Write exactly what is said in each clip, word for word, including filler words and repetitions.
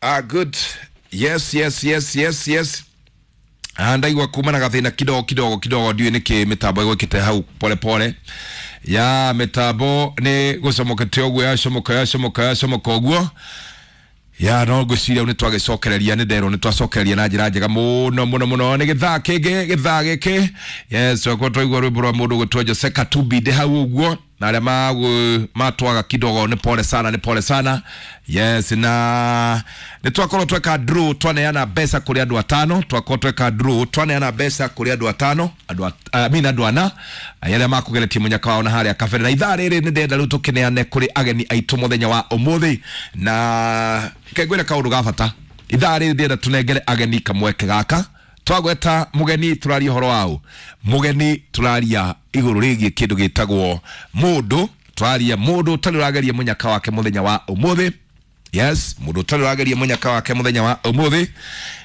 Ah, good. Yes, yes, yes, yes, yes. Ah, ndaigua kuma na gathina kidogo kidogo kidogo, ndiũĩ nĩkĩ mĩtambo ĩgwĩkĩte hau pole pole ya mĩtambo nĩ gũcomokete ũguo, yacomoka yacomoka yacomoka ũguo ya no ngwĩciria nĩ twagĩcokereria, nĩ nderwo nĩ twacokereria na njĩra njega mũno mũno mũno. Nĩ gĩthaa kĩngĩ, gĩthaa gĩkĩ, yes, twakorwo twaigua rwĩmbo rwa mũndũ gwĩtwo Jose Katumbi ndĩ hau ũguo, na arĩa magũ- matwaga kidogo nĩ pole sana, nĩ pole sana. Yes, na nĩ twakorwo tweka draw, twaneana mbeca kũrĩ andũ atano, twakorwo tweka draw, twaneana mbeca kũrĩ andũ atano, andũ at- I mean andũ ana arĩa makũgeretie mũnyaka wao na harĩa kabere. Na ithaa rĩrĩ nĩ ndĩrenda rĩu tũkĩneane kũrĩ ageni aitũ mũthenya wa ũmũthĩ, na kengwĩre kaũndũ ga bata. Ithaa rĩrĩ ndĩrenda tũnengere ageni kamweke gaka. Twagweta mũgeni, tũraria ũhoro waũ? Mũgeni tũraria igũrũ rĩgiĩ kĩndũ gĩtagwo mũndũ, tũraria mũndũ ũtarĩ ũrageria mũnyaka wake mũthenya wa ũmũthĩ. Yes, mũndũ ũtarĩ ũrageria mũnyaka wake mũthenya wa ũmũthĩ,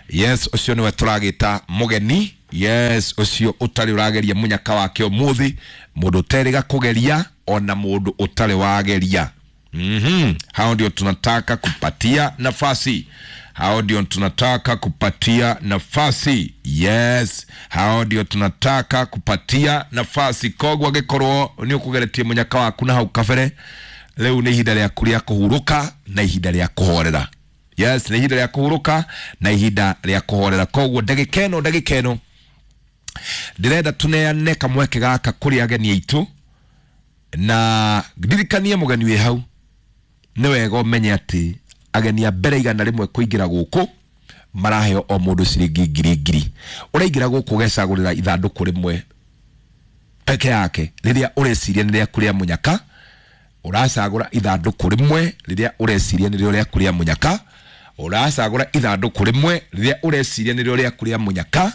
yes, ũcio nĩwe tũragĩta mũgeni. Yes, ũcio ũtarĩ ũrageria mũnyaka wake ũmũthĩ, mũndũ ũterĩga kũgeria ona mũndũ ũtarĩ wageria. mm-hmm. Hao ndio tunataka kupatia nafasi, hao ndio tunataka kupatia nafasi. Yes, hao ndio tunataka kupatia nafasi. Koguo angĩkorwo nĩ ũkũgeretie mũnyaka waku na hau kabere, rĩu nĩ ihinda rĩaku rĩa kũhurũka na ihinda rĩa kũhorera. Yes, nĩ ihinda rĩa kũhurũka na ihinda rĩa kũhorera. Koguo ndagĩka ĩno, ndagĩka ĩno ndĩrenda tũneane kamweke gaka kũrĩ ageni aitũ, na ndirikanie mũgeni wĩ hau, nĩ wega ũmenye atĩ ageni a mbere igana rĩmwe kũingĩra gũkũ maraheo o mũndũ ciringi ngiri ngiri. Ũraingĩra gũkũ ũgecagũrĩra ithandũkũ rĩmwe peke yake rĩrĩa ũreciria nĩ rĩaku rĩa mũnyaka. Ũracagũra ithandũkũ rĩmwe rĩrĩa ũreciria nĩrĩo rĩaku rĩa mũnyaka, ũracagũra ithandũkũ rĩmwe rĩrĩa ũreciria nĩrĩo rĩaku rĩa mũnyaka,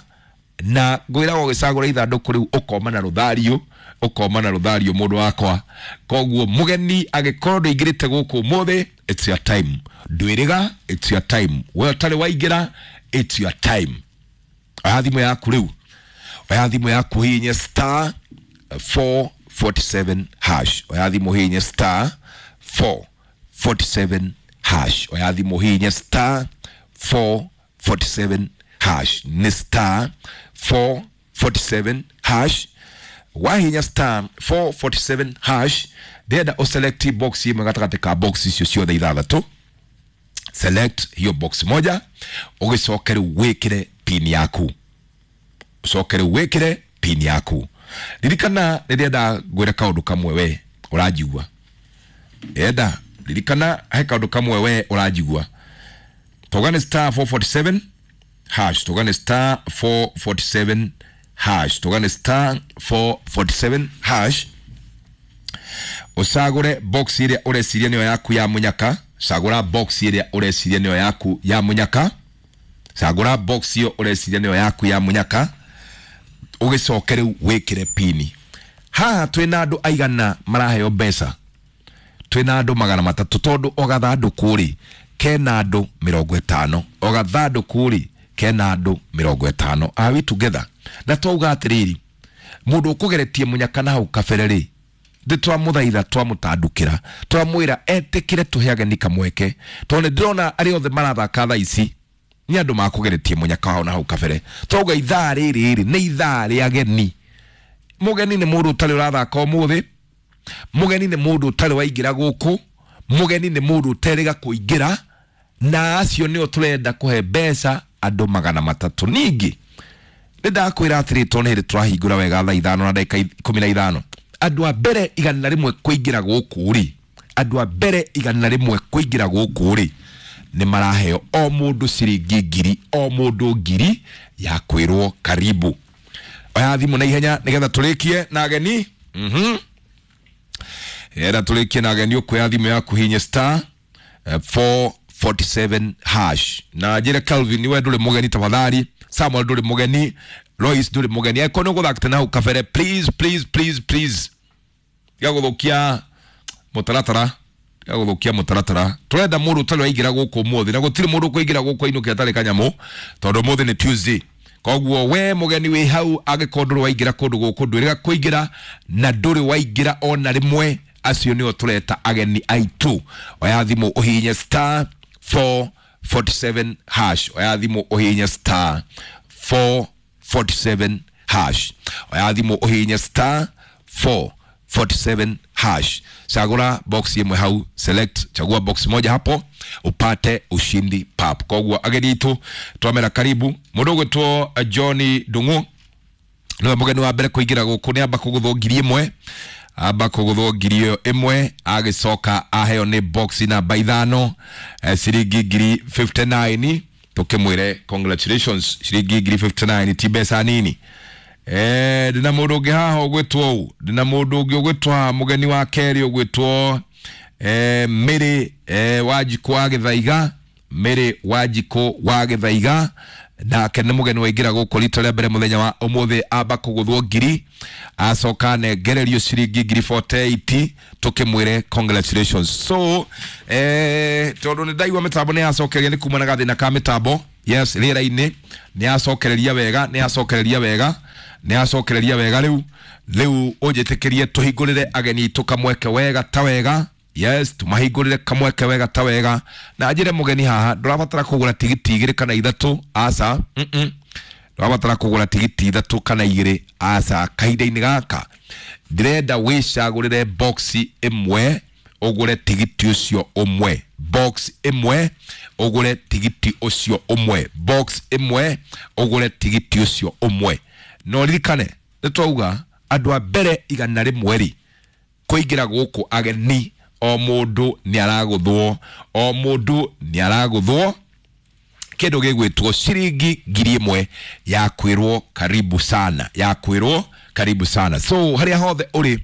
na ngwĩraga ũgĩcagũra ithandũkũ rĩu ũkoma na rũthario, ũkoma na rũthario, mũndũ wakwa. Koguo mũgeni, angĩkorwo ndũingĩrĩte gũkũ ũmũthĩ, it's your time. Ndwĩrĩga, it's your time. We ũtarĩ waingĩra, it's your time. Oya thimũ yaku rĩu, oya thimũ yaku, hihinye star four forty-seven hash. Oya thimũ, hihinye star four forty-seven hash. Oya thimũ, hihinye star four forty-seven hash, nĩ star four forty-seven hash. Wahinya star four forty-seven hash, ndĩrenda ũselect box ĩmwe gatagatĩ ka box icio ciothe ithathatũ. Select hiyo box moja, ũgĩcoke rĩu wĩkĩre pin yaku, ũcoke rĩu wĩkĩre pin yaku. Ririkana, rĩrĩa ngwĩre kaũndũ kamwe, we ũranjigua, enda ririkana he kaũndũ kamwe, we ũranjigua. Togane star four forty-seven hash, togane star four forty-seven hash, togane star four forty-seven hash, ũcagũre box ĩrĩa ũreciria nĩyo yaku ya mũnyaka. Cagũra box ĩrĩa ũreciria nĩyo yaku ya mũnyaka, cagũra box ĩyo ũreciria nĩyo yaku ya mũnyaka, ũgĩcoke rĩu wĩkĩre pini. Haha twĩna andũ aigana maraheo mbeca? Twĩna andũ magana matatũ, tondũ o gathandũkũ rĩ kena andũ mĩrongo ĩtano, o gathandũkũ rĩ kena andũ mĩrongo ĩtano. Are we together? Na twauga atĩrĩrĩ, mũndũ ũkũgeretie mũnyaka na hau kabere rĩ, ndĩ twamũthaitha, twamũtandũkĩra, twamwĩra etĩkĩre tũhe ageni kamweke, tondũ nĩ ndĩrona arĩa othe marathaka thaa ici nĩ andũ makũgeretie mũnyaka wao na hau kabere. Twauga ithaa rĩrĩ rĩ nĩ ithaa rĩa ageni. Mũgeni nĩ mũndũ ũtarĩ ũrathaka ũmũthĩ, mũgeni nĩ mũndũ ũtarĩ waingĩra gũkũ, mũgeni nĩ mũndũ ũterĩga kũingĩra, na acio nĩo tũrenda kũhe mbeca, andũ magana matatũ. Ningĩ nĩ ndakwĩra atĩrĩ, tondũ nĩ hĩndĩ tũrahingũra wega thaa ithano na ndagĩka ikũmi na ithano, andũ a mbere igana rĩmwe kũingĩra gũkũ rĩ, andũ a mbere igana rĩmwe kũingĩra gũkũ rĩ, nĩ maraheo o mũndũ ciringi ngiri, o mũndũ ngiri ya kwĩrwo karibu. Oya thimũ na ihenya nĩgetha tũrĩkie na ageni. mhm era tũrĩkie na ageni. Ũkuoya thimũ yaku, hinye star eh, four forty-seven hash, na njĩre Calvin, we ndũrĩ mũgeni, tafadhali. Samuel, ndũrĩ mũgeni. Lois, ndũrĩ mũgeni. Angĩkorwo nĩ ũgũthakĩte na hau kabere, please, please, please, please, tiga gũthũkia mũtaratara, tiga gũthũkia mũtaratara. Tũrenda mũndũ ũtarĩ waingĩra gũkũ ũmũthĩ, na gũtirĩ mũndũ ũkũingĩra gũkũ ainũke atarĩ kanyamũ, tondũ ũmũthĩ nĩ Tuesday. Koguo we mũgeni wĩ hau, angĩkorwo ndũrĩ waingĩra kũndũ gũkũ, ndwĩrĩga kũingĩra na ndũrĩ waingĩra ona rĩmwe, acio nĩo tũreta ageni aitũ. Oya thimũ, ũhihinye star four forty-seven hash. Oya thimu uhihinye star four forty-seven hash. Oya thimu uhihinye star four forty-seven hash. Chagura box imwe hau, select, chagua box moja hapo upate ushindi pap. Koguo ageni itu twamera karibu mundu gwitwo Johnny Ndungu niwe mugeni wa mbere kuingira guku, ni amba kuguthwo ngiri imwe, amba kuguthwo ngiri iyo imwe, agicoka aheo ni box namba ithano, eh, ciringi ngiri fifty-nine. Tukimwire congratulations, ciringi ngiri fifty-nine ti mbeca nini. Eh, ndina mundu ungi haha ugwitwo u, ndina mundu ungi ugwitwo haha, mugeni wa keri ugwitwo eh, Mary eh, Wanjikũ wa Gĩthaiga, Mary Wanjikũ wa Gĩthaiga, nake nĩ mũgeni waingĩra gũkũ rita rĩa mbere mũthenya wa ũmũthĩ, amba kũgũthwo ngiri, acoka anengererio ciringi ngiri forty-eight, tukĩmwĩre congratulations. So eh, tondũ nĩ ndaigua mĩtambo nĩ yacokeria, nĩ kumana gathĩna ka mĩtambo, yes, rĩera-inĩ nĩ yacokereria wega, nĩ yacokereria wega, nĩ yacokereria wega. Rĩu rĩu ũnjĩtĩkĩrie tũhingũrĩre ageni aitũ kamweke wega ta wega. Yes, tumahingũrĩre kamweke wega ta wega. Na njĩre mũgeni haha ndũrabatara kũgũra tigiti igĩrĩ kana ithatũ, aca, mm-mm. Ndũrabatara kũgũra tigiti ithatũ kana igĩrĩ, aca. Kahinda-inĩ gaka ndĩrenda wĩcagũrĩre box ĩmwe ũgũre tigiti ũcio ũmwe, box ĩmwe ũgũre tigiti ũcio ũmwe, box ĩmwe ũgũre tigiti ũcio ũmwe. No ririkane nĩ twauga andũ a mbere igana rĩmwe rĩ kũingĩra gũkũ ageni, o mũndũ nĩ aragũthwo, o mũndũ nĩ aragũthwo kĩndũ gĩgwĩtwo ciringi ngiri ĩmwe ya kwĩrwo karibu sana, ya kwĩrwo karibu sana. So harĩa hothe ũrĩ,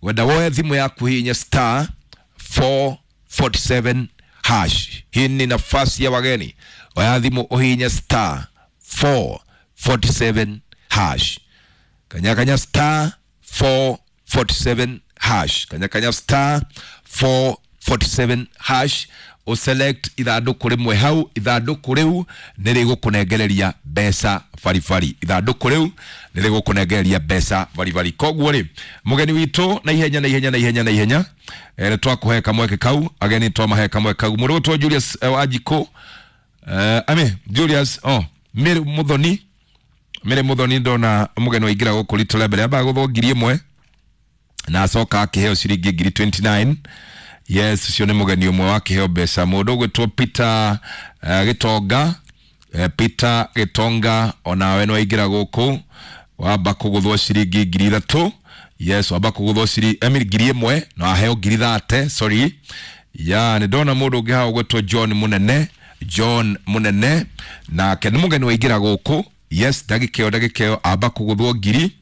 wenda woe thimũ yaku hihinya star four forty-seven hash. Hii ni nafasi ya wageni. Oya thimũ ũhihinye star four forty-seven hash. Kanya kanya star four forty-seven hash. Kanya kanya star four forty-seven hash. O select ithandũkũ rĩmwe hau, ithandũkũ rĩu nĩ rĩgũkũnengereria mbeca baribari, ithandũkũ rĩu nĩ rĩgũkũnengereria mbeca baribari. Koguo rĩ mũgeni witũ na ihenya na ihenya na ihenya na ihenya, eh, twakũhe kamweke kau, ageni twamahe kamweke kau. Mũndũ ũgwĩtwo Julius eh, Wanjikũ, eh, ame Julius, oh, Mary Muthoni, Mary Muthoni ndona mũgeni waingĩra gũkũ rita rĩa mbere, ambaga gũthwo ngiri ĩmwe na acoka akĩheo ciringi ngiri twenty-nine. Yes, ucio nĩ mũgeni ũmwe wakĩheo mbeca. Mũndũ ũgwĩtwo Peter uh, Gĩtonga, uh, Peter Gĩtonga onawe nĩ waingĩra gũkũ, wamba kũgũthwo ciringi ngiri ithatũ. Yes, wamba kũgũthwo ciringi emi ngiri ĩmwe na aheo ngiri thate, sorry. Ya, nĩ ndona mũndũ ũngĩ haha ũgwĩtwo John Mũnene, John Mũnene nake nĩ mũgeni waingĩra gũkũ. Yes, ndagĩka ĩyo, ndagĩka ĩyo amba kũgũthwo ngiri,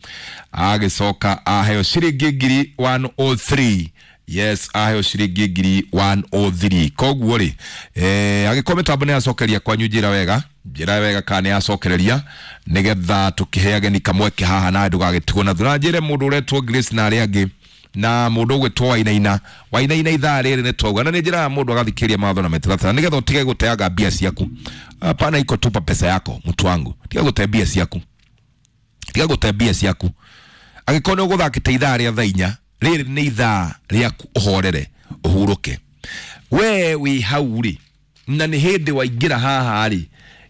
agĩcoka aheo ciringi ngiri one oh three. Yes, aheo ciringi ngiri one oh three. Koguo rĩ, eh, agĩkorwo mĩtambo nĩ yacokeria kwanyu, njĩra wega, njĩra wega kana nĩ yacokereria, nĩgetha tũkĩhe ageni kamweke haha na ndũgagĩtigwo na thutha. Njĩre mũndũ ũretwo Grace na arĩa angĩ na mũndũ ũgwĩtwo Wainaina, Wainaina ithaa rĩrĩ nĩ twauga, na nĩ njĩraga mũndũ agathikĩrĩria mawatho na mĩtaratara nĩgetha ũtige gũteanga mbia ciaku. Hapana, iko tupa pesa yako mtu wangu, tiga gũte mbia ciaku, tiga gũte mbia ciaku. Angĩkorwo nĩ ũgũthakĩte ithaa rĩa thaa inya, rĩrĩ nĩ ithaa rĩaku ũhorere, ũhurũke. We wĩ hau rĩ, na nĩ hĩndĩ waingĩra haha rĩ,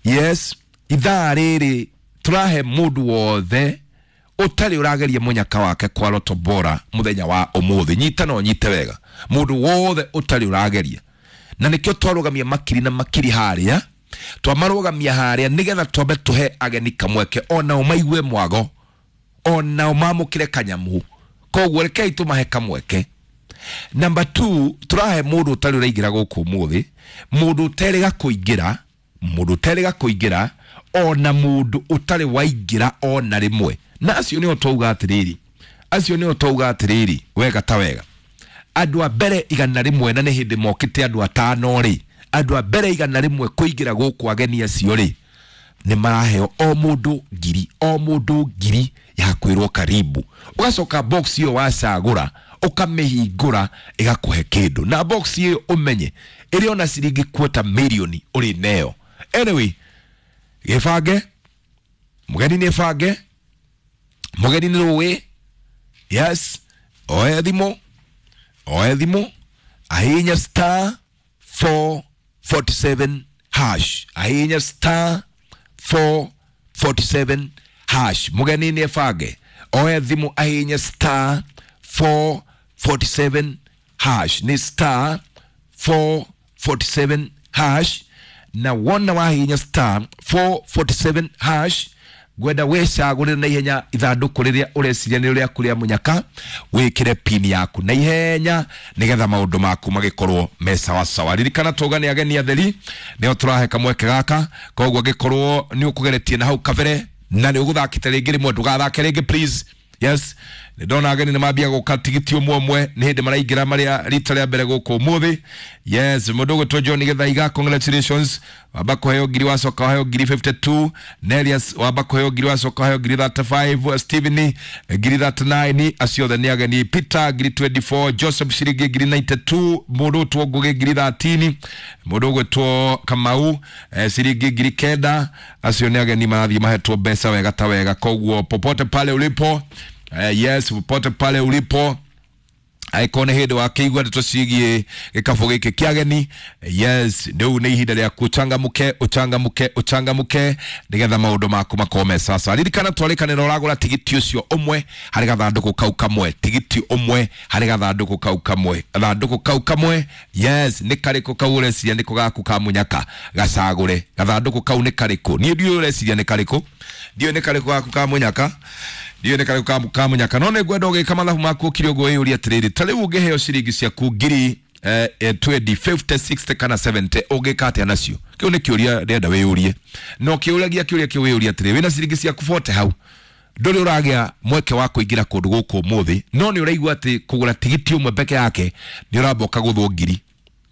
yes, ithaa rĩrĩ tũrahe mũndũ wothe ũtarĩ ũrageria mũnyaka wake kwa Lotto Bora mũthenya wa ũmũthĩ. Nyita na ũnyite wega, mũndũ wothe ũtarĩ ũrageria. Na nĩkĩo twarũgamia makiri na makiri harĩa, twamarũgamia harĩa nĩgetha twambe tũhe ageni kamweke onao maigue mwago, onao mamũkĩre kanyamu. Koguo rekei tũmahe kamweke. Number two, tũrahe mũndũ ũtarĩ ũraingĩra gũkũ ũmũthĩ, mũndũ ũterĩga kũingĩra, mũndũ ũterĩga kũingĩra, ona mũndũ ũtarĩ waingĩra ona rĩmwe. Na acio nĩo twauga atĩrĩrĩ, acio nĩo twauga atĩrĩrĩ, wega ta wega. Andũ a mbere igana rĩmwe, na nĩ hĩndĩ mokĩte andũ atano rĩ, andũ a mbere igana rĩmwe kũingĩra gũkũ ageni acio rĩ, nĩ maraheo o mũndũ ngiri, o mũndũ ngiri ya kwĩrwo karibu. Ũgacoka box ĩyo wacagũra, ũkamĩhingũra ĩgakũhe kĩndũ. Na box ĩyo ũmenye ĩrĩ ona ciringi quarter million ũrĩ nayo. Anyway, gĩbange, mũgeni nĩ bange, mũgeni nĩ rũĩ. Yes, oe thimũ, oe thimũ, ahihinya star four forty-seven hash, ahihinya star four forty-seven hash. Mugeni ni ebange oe thimu ahihinye star four forty-seven hash, ni star four forty-seven hash. Na wona wahihinya star four forty-seven hash, ngwenda wicagũrĩre na ihenya ithandũkũ rĩrĩa ũreciria nĩ rĩaku rĩa mũnyaka, wĩkĩre pin yaku na ihenya nĩgetha maũndũ maku magĩkorwo me sawasawa. Ririkana tũga nĩ ageni atheri nĩo tũrahe kamweke gaka, koguo angĩkorwo nĩ ũkũgeretie na hau kabere na nĩ ũgũthakĩte rĩngĩ rĩmwe, ndũgathake rĩngĩ please. Yes, nĩ ndona ageni nĩ mambia gũka tigiti ũmwe ũmwe, nĩ hĩndĩ maraingĩra marĩa rita rĩa mbere gũkũ ũmũthĩ. Yes, mũndũ ũgwĩtwo John Gĩthaiga, congratulations, wamba kũheo ngiri wacoka waheo ngiri fifty-two. Nelius wamba kũheo ngiri wacoka waheo ngiri thirty-five. Steven ngiri thirty-nine, acio othe nĩ ageni. Peter ngiri twenty-four, Joseph ciringi ngiri ninety-two, mũndũ ũgwĩtwo Ngũgĩ ngiri thirteen, mũndũ ũgwĩtwo Kamau eh, ciringi ngiri kenda, acio nĩ ageni marathiĩ mahetwo mbeca wega ta wega. Koguo popote pale ulipo, Uh, yes, popote pale ulipo, angĩkorwo nĩ hĩndĩ wakĩigua ndeto ciĩgiĩ gĩkabũ gĩkĩ kĩa ageni, yes, rĩu nĩ ihinda rĩaku ũchangamũke, ũchangamũke, ũchangamũke nĩgetha maũndũ maku makorwo me sawasawa. Ririkana twarĩkanĩra ũragũra tigiti ũcio ũmwe harĩ gathandũkũ kau kamwe, tigiti ũmwe harĩ gathandũkũ kau kamwe, gathandũkũ kau kamwe, yes, nĩ karĩkũ kau ũreciria nĩko gaku ka mũnyaka, gacagũre. Gathandũkũ kau nĩ karĩkũ? Niĩ ndiũĩ ũreciria nĩ karĩkũ, ndiũĩ nĩ karĩkũ gaku ka mũnyaka, ndiũĩ nĩ karĩkũ ka mũnyaka, no nĩ ngwenda ũgĩka mathabu maku ũkire ũguo wĩyũrie atĩrĩrĩ, ta rĩu ũngĩheo ciringi ciaku ngiri eh, twenty, fifty, sixty kana seventy, ũngĩka atĩa nacio? Kĩu nĩ kĩũria ndĩrenda wĩyũrie, na ũkĩũragia kĩũria kĩu wĩyũrie atĩrĩrĩ, wĩna ciringi ciaku forty hau, ndũrĩ ũragĩa mweke wa kũingĩra kũndũ gũkũ ũmũthĩ, no nĩ ũraigua atĩ kũgũra tigiti ũmwe peke yake nĩ ũramba ũkagũthwo ngiri,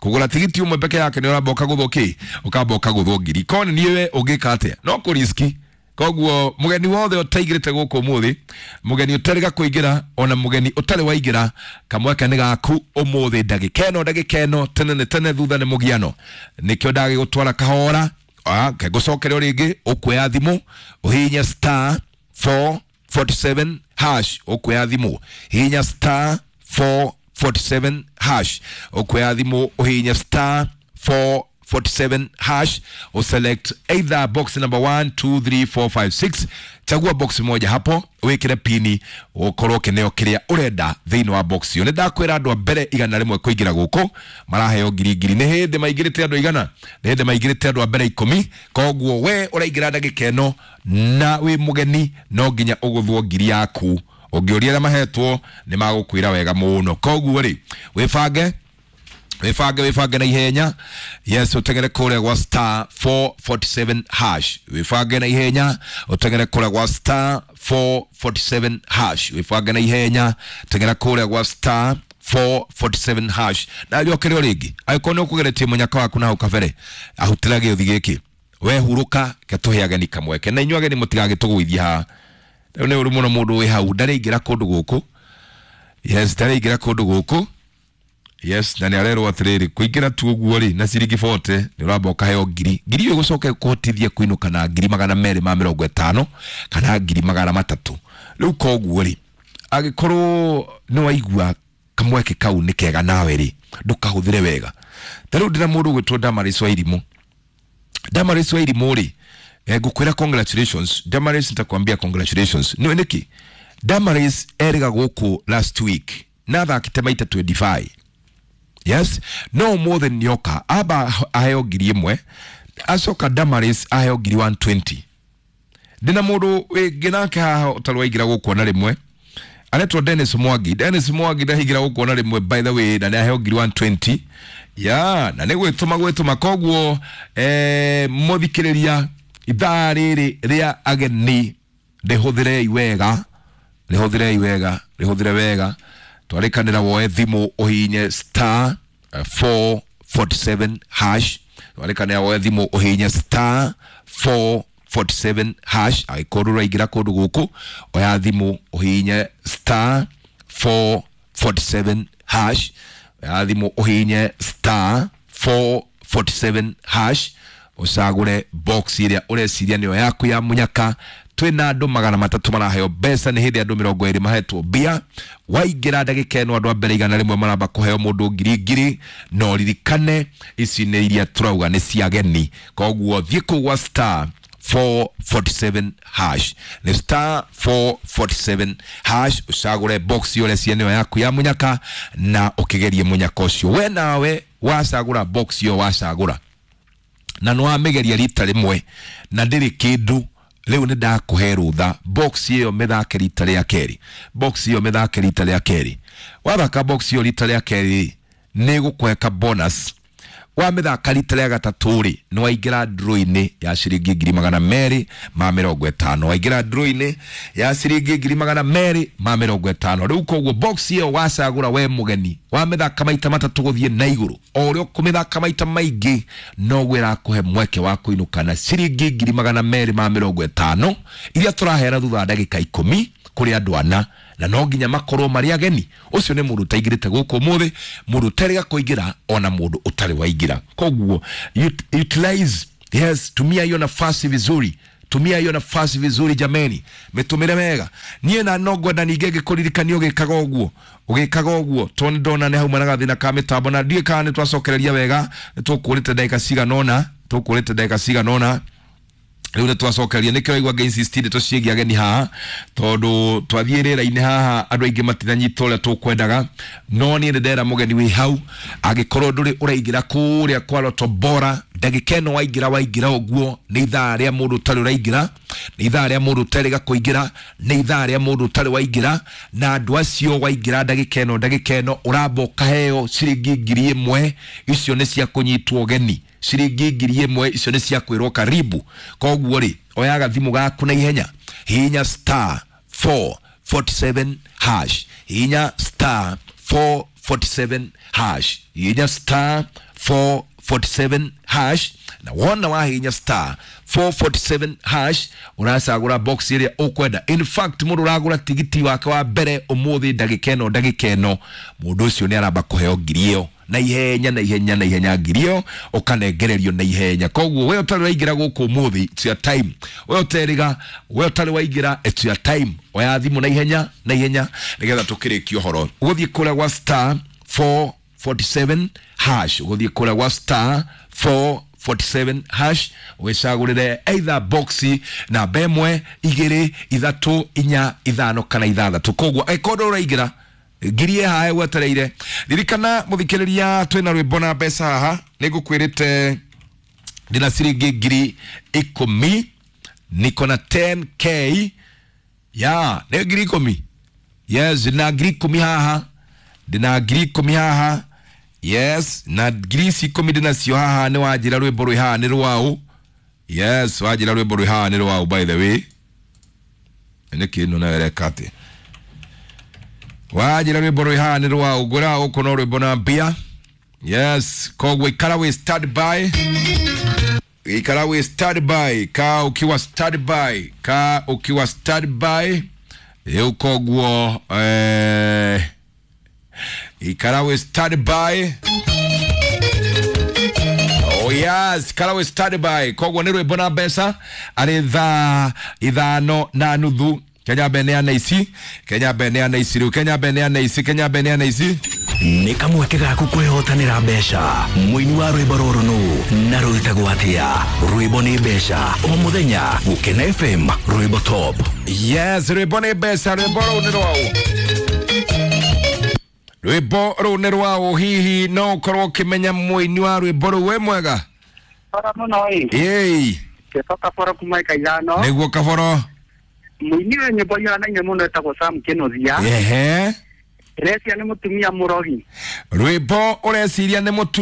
kũgũra tigiti ũmwe peke yake nĩ ũramba ũkagũthwo kĩ, ũkamba ũkagũthwo ngiri. Korwo nĩ niĩ we ũngĩka atĩa? No kũriski. Koguo mugeni wothe ũtaingĩrĩte gũkũ ũmũthĩ, mugeni ũtarĩga kũingĩra, ona mugeni ũtarĩ waingĩra, kamweke nĩ gaku ũmũthĩ ndagĩka ĩno, ndagĩka ĩno, tene nĩ tene, thutha nĩ mũgiano. Nĩkĩo ndagĩgũtwara kahora, ngũcokere o rĩngĩ, ũkuoya thimũ ũhihinye star four forty-seven hash, ũkuoya thimũ hihinya star four forty-seven hash, ũkuoya thimũ ũhihinye star four forty-seven hash, or select either box number one, two, three, four, five, six. Chagua box moja hapo, wikire pini, ukorwo kineo kiria urenda thiini wa box iyo. Nĩ ndakwĩra andũ a mbere igana rĩmwe kũingĩra gũkũ maraheo ngiri ngiri. Nĩ hĩndĩ maingĩrĩte andũ igana, nĩ hĩndĩ maingĩrĩte andũ a mbere ikũmi. Koguo we ũraingĩra ndagĩka ĩno na wĩ mũgeni, no nginya ũgũthwo ngiri yaku. Ũngĩũria arĩa mahetwo nĩ magũkwĩra wega mũno. Koguo rĩ, wĩbange, wĩbange, wĩbange na ihenya. Yes, ũteng'ere kũrĩa gwa star four forty-seven hash, wĩbange na ihenya, ũteng'ere kũrĩa gwa star four forty-seven hash, wĩbange na ihenya, teng'era kũrĩa gwa star four forty-seven hash. Na rĩokere o rĩngĩ, angĩkorwo nĩ ũkũgeretie mũnyaka waku na hau kabere, ahutĩra gĩũthi gĩkĩ, we hurũka, ke tũhe ageni kamweke, na inyuĩ ageni mũtigagĩtũgũithie haha. Rĩu nĩ ũru mũno mũndũ wĩ hau ndarĩingĩra kũndũ gũkũ. Yes, ndarĩingĩra kũndũ gũkũ. Yes, na nĩ arerwo atĩrĩrĩ, kũingĩra tu ũguo rĩ na ciringi forty nĩ ũramba ũkaheo ngiri. Ngiri ĩyo ĩgũcoka ĩkũhotithie kũinũka na ngiri magana merĩ ma mĩrongo ĩtano kana ngiri magana matatũ. Rĩu koguo rĩ, angĩkorwo nĩ waigua kamweke kau nĩ kega nawe rĩ, ndũkahũthĩre wega. Ta rĩu ndĩna mũndũ ũgwĩtwo Damaris Wairimũ. Damaris Wairimũ rĩ, eh, ngũkwĩra congratulations. Damaris, nitakwambia congratulations. Nĩ nĩkĩ? Damaris erĩga gũkũ last week na athakĩte maita twenty-five. Yes, no ũmũthĩ nĩoka amba aheo ngiri ĩmwe, acoka Damaris aheo ngiri one twenty. Ndĩna mũndũ wĩngĩ nake haha ũtarĩ waingĩra gũkũ ona rĩmwe, aretwo Dennis Mwangi. Dennis Mwangi ndaingĩra gũkũ ona rĩmwe by the way, na nĩ aheo ngiri one twenty. Ya, na nĩ gwĩtũma gwĩtũma. Koguo eh, mũthikĩrĩria, ithaa rĩrĩ rĩa ageni rĩhũthĩrei wega, rĩhũthĩrei wega, rĩhũthĩre wega. Twarĩkanĩra woe thimũ ũhihinye star four forty-seven hash, twarĩkanĩra woe thimũ ũhihinye star four forty-seven hash. Angĩkorwo ũraingĩra kũndũ gũkũ, oya thimũ ũhihinye star four forty-seven hash, oya thimũ ũhihinye star four forty-seven hash, Ucagure box iria ureciria niyo yaku ya munyaka. Twina andu magana matatu maraheo mbeca, ni hindi andu mirongo iri mahetwo mbia. Waingira ndagika ino andu a mbere igana rimwe maramba kuheo mundu ngiri ngiri, no ririkane ici ni iria turauga ni cia ageni. Koguo thiĩ kũu gwa star four forty-seven hash, ni star four forty-seven hash, ucagure box yo reciria niyo yaku ya munyaka na ukigerie munyaka ucio. We nawe wacagura box yo wacagura na no wamigeria rita rimwe na ndiri kindu, riu ni ndakuhe rutha. Box iyo mithake rita ria keri, box iyo mithake rita ria keri. Wathaka box iyo rita ria keri ni gukuhe bonus. Wamithaka rita ria gatatu ri ni waingira draw-ini ya ciringi ngiri magana meri ma mirongo itano, waingira draw-ini ya ciringi ngiri magana meri ma mirongo itano. Riu koguo box iyo wacagura we mugeni wamithaka maita matatu guthie na iguru, o uria ukumithaka maita maingi noguo irakuhe mweke wa kuinuka na ciringi ngiri magana meri ma mirongo itano iria turaheana thutha wa ndagika ikumi kuri andu ana, na no nginya makorwo mari ageni. Ucio ni mundu utaingirite guku umuthi, mundu utarega kuingira ona mundu utari waingira. Koguo utilize, yes, tumia hiyo nafasi vizuri, tumia hiyo nafasi vizuri jameni, mitumire wega. Nie na no ngwenda ningĩ ngĩkũririkania ũgĩkaga ũguo, ũgĩkaga ũguo tondũ ndona nĩ hauma na gathĩna ka mĩtambo na ndiũĩ kana nĩ twacokereria wega. Nĩ tũkũrĩte ndagĩka cigana ũna, tũkũrĩte ndagĩka cigana ũna riu nĩ twacokeria. Nĩkĩo waigua ngĩ insist ndeto ciĩgiĩ ageni haha, tondũ twathiĩ rĩera-inĩ haha andũ aingĩ matinanyita ũrĩa tũkwendaga. No niĩ nĩ ndera mũgeni wĩ hau, angĩkorwo ndũrĩ ũraingĩra kũrĩa kwa Lotto Bora, ndagĩka ĩno waingĩra waingĩra ũguo nĩ ithaa rĩa mũndũ ũtarĩ ũraingĩra, nĩ ithaa rĩa mũndũ ũtarĩ kũingĩra, nĩ ithaa rĩa mũndũ ũtarĩ waingĩra. Na andũ acio waingĩra ndagĩka ĩno, ndagĩka ĩno ũramba ũkaheo ciringi ngiri ĩmwe, icio nĩ cia kũnyitwo ũgeni. Ciringi ngiri ĩmwe icio nĩ cia kwĩrwo karibu. Koguo rĩ, oya gathimũ gaku na ihenya, hihinya star four forty-seven hash, hihinya star four forty-seven hash, hihinya star four forty-seven hash. Na wona wahihinya star four forty-seven hash uracagura box iria ukwenda. In fact mundu uragura tigiti wake wa mbere umuthi ndagika ĩno, ndagika ĩno mundu ucio ni aramba kuheo ngiri ĩyo na ihenya, na ihenya, na ihenya, ngiri ĩyo ukanengererio na ihenya. Koguo we ũtarĩ waingĩra gũkũ ũmũthĩ, it's your time. We ũteriga, we ũtarĩ waingĩra, it's your time. Oya thimũ na ihenya, na ihenya nĩgetha tũkĩrĩkie ũhoro. Ũgũthiĩ kũrĩa gwa star four forty-seven hash, ũgũthiĩ kũrĩa gwa star four forty-seven hash wicagũrĩre either box namba ĩmwe, igĩrĩ, ithatũ, inya, ithano kana ithathatũ. Koguo angĩkorwo ũraingĩra ngiri ĩ haha wetereire, ririkana mũthikĩrĩria twĩna rwĩmbo na mbeca haha. Nĩngũkwĩrĩte ndĩna ciringi ngiri ikũmi, niko na ten k ya nĩ ngiri ikũmi. Yes, ndĩna ngiri ikũmi haha, ndĩna ngiri ikũmi haha. Yes, na ngiri ici ikũmi ndĩnacio haha. Nĩ wanjĩra rwĩmbo rwĩ haha nĩ rwaũ. Yes, wanjĩra rwĩmbo rwĩ haha nĩ rwaũ. By the way, nĩ kĩndũ nawe ĩreka atĩ wanjĩra rwĩmbo rwĩ haha nĩ rwaũ, ngwĩraga gũkũ no rwĩmbo na mbia. Yes, koguo ikara wĩ stand by, ikara wĩ stand by, ka ukiwa stand by, ka ukiwa stand by rĩu. Koguo eh, ikara wĩ stand by. Oh yes, ikara wĩ stand by. Koguo nĩ rwĩmbo na mbeca arĩ thaa ithano na nuthu. Kenya mbeneana ici, Kenya mbeneana ici rĩu, Kenya mbeneana ici, Kenya mbeneana ici. Nĩ kamweke gaku kwĩhotanĩra mbeca. Mũini wa rwĩmbo rũrũ nũ na rwĩtagwo atĩa? Rwĩmbo nĩ mbeca o mũthenya Gũkena F M, rwĩmbo top. Yes, rwĩmbo nĩ mbeca. Rwĩmbo rũu nĩ rwaũ, rwĩmbo rũu nĩ rwaũ. Hihi no ũkorwo ũkĩmenya mũini wa rwĩmbo rũu? Wĩ mwega? Ora mũno ĩ. Ĩĩ. Kĩto Kaboro kuma ika ithano. Nĩguo Kaboro. Mũini wa nyĩmbo ihanaine mũno etagwo Sam Kĩnuthia. Ehe. Ndĩreciria nĩ mũtumia mũrogi. Rwĩmbo ũreciria nĩ mũtumia